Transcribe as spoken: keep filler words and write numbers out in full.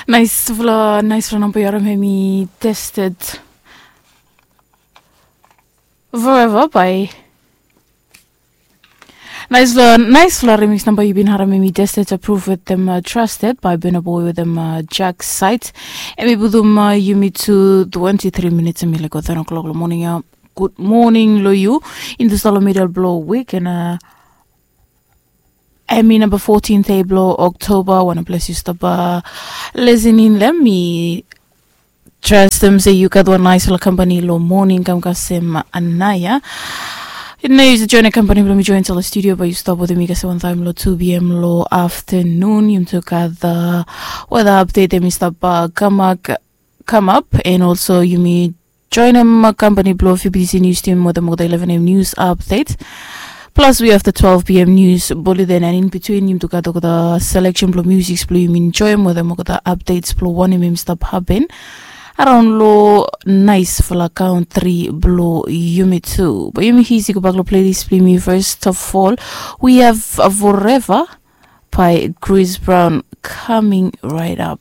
Naisfala naisfala namba yu harim em i tested. Forever by naisfala naisfala remix namba yu bin harim em i tested, approve wetem trusted by Burna Boy wetem Jack Site. Em i putum yumi tu twenty three minutes em i lego ten o'clock long morning ya. Good morning lo yu. Intusala middle blo week and uh, em i namba fourteen day blo October. Wana ples yu stap listening lem mi trastem se yu gat wan naisfala kampani lo morning kam kasem anaya. Nao yu join kampani blo mi join sala studio ba yu stap wetem mi kasem wan taim lo two p.m. lo afternoon. Yumi tu gat weda update em i stap kamap kamap and also yumi joinem kampani blo fbc news team wetem olgeta eleven a.m. news update. Plus we have the twelve p.m. news bulletin and in between yumi tu gat olgeta selection blo music blo yumi enjoyem wetem olgeta updates blo wanem em i stap happen around lo naisfala country blo yumi tu. Ba yumi hisi gobak lo playlist blo yumi. First of all, we have Forever by Chris Brown coming right up.